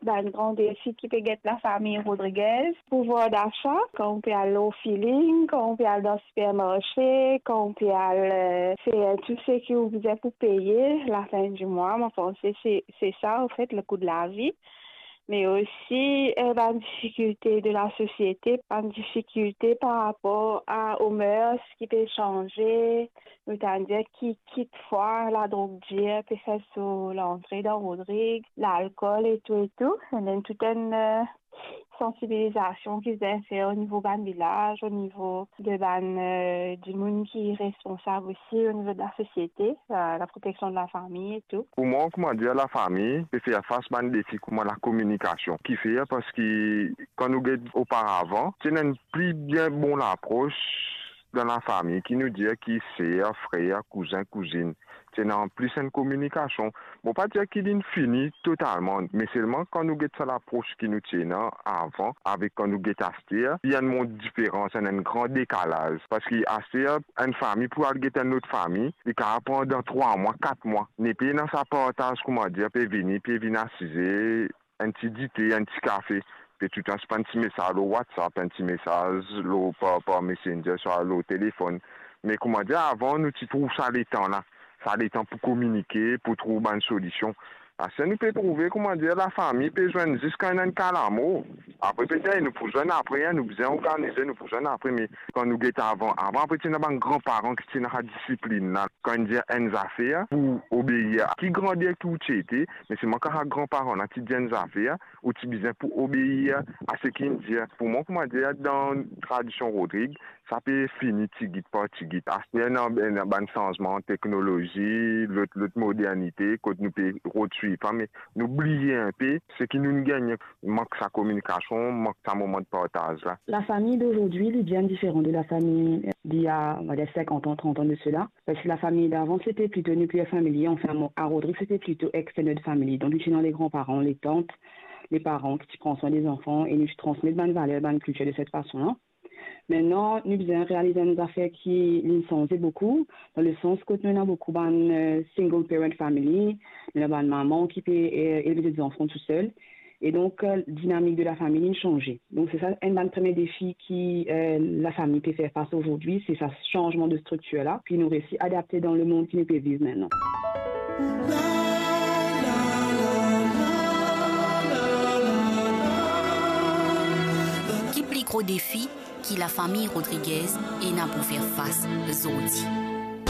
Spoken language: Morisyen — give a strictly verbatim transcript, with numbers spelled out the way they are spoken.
Bann gran defi ki pe get lafami Rodriguez, pouvwar dasa, kan ou pe al lor feeling, kan ou pe al dan sipermarse, kan ou pe al, euh, fer tou seki ou bizin pou peye lafin di mwa. Mo panse se, se sa, anfet, le kou de lavi. Me osi, euh, bann difikilte de lasosiete, bann difikilte par rapor a, o mers ki pe sanze, notaman ki kitfwa ladrog dir pe fer so lantre dan Rodrig, lalkol e tou e tou. E ena tou enn, euh, sansibilizasion ki bizin fer o nivo bann vilaz, o nivo de bann, euh, dimoun ki responsab osi o nivo de lasosiete, euh, laproteksion de lafami e tou. Pou mwa, kouma dir, lafami pe fer fas bann defi kouma lakominikasion. Kifer? Parski kan nou get oparavan, ti ena enn pli bien bon lapros dan lafami, ki nou dir ki ser, frer, kouzin, kouzinn. Ti ena plis enn kominikasion. Mo pa dir ki linn fini totalman, me selman kan nou get sa lapros ki nou ti ena avan avek kan nou get aster, li ena enn diferans, ena enn gran dekalaz. Parski aster, enn fami pou al get enn lot fami, li kapav pran dan trwa mwa, kat mwa. Nepli ena sa partaz, kouma dir, pe vini, pe vinn asize, enn ti dite, enn ti kafe, pe toutan se pa enn ti mesaz lor WhatsApp, enn ti mesaz lor, par, par Messenger, swa lor telefonn. Me kouma dir, avan, nou ti trouv sa letan la, sa letan pou kominike, pou trouv bann solision. Aster nou pe trouve, kouma dir, lafami pe zwenn zis kan ena enn ka lamor. Apre, petet nou pou zwenn apre, en, nou bizin organize, nou pou zwenn apre, me kan nou get avan, avan, apre, ti ena bann granparan ki ti ena sa disiplinn la. Kan inn dir enn zafer, pou obeir. Ki grander ki ou ti ete, me selman kan sa granparan la ti dir enn zafer, ou ti bizin pou obeir a seki inn dir. Pou mwa, kouma dir, dan tradision Rodrig, sa pe fini tigit par tigit. Aster, ena, ena bann sanzman teknolozi, lot, lot modernite, kot nou pe rod swiv sa, me nou bliye enpe seki nou'nn gagne, mank sa kominikasion, mank sa moman de partaz la. La famille d'aujourd'hui, elle est bien différente de la famille d'il y a, on va dire, cinquante ans, trente ans de cela. Parce que la famille d'avant, c'était plutôt nuclear family, enfin, bon, à Rodrig, c'était plutôt extended family. Donc, nou ti ena les grands-parents, les tantes, les parents ki ti pran swin de zanfan e nou ti transmet bann valer, bann kiltir de cette façon-là. Aster, nou bizin realiz enn zafer ki linn sanze boukou, dan le sans kot nou ena boukou bann, euh, single parent family, nou ena bann mama ki pe, euh, elve zot zanfan tousel. E donk, euh, dinamik de lafami linn sanze. Donk, se sa enn bann premie defi ki, euh, lafami pe fer fas azordi, se sa sanzman de striktir la, pi nou resi adapte dan lemond ki nou pe viv aster. Ki pli gro defi ki lafami Rodriguez ena pou fer fas zordi?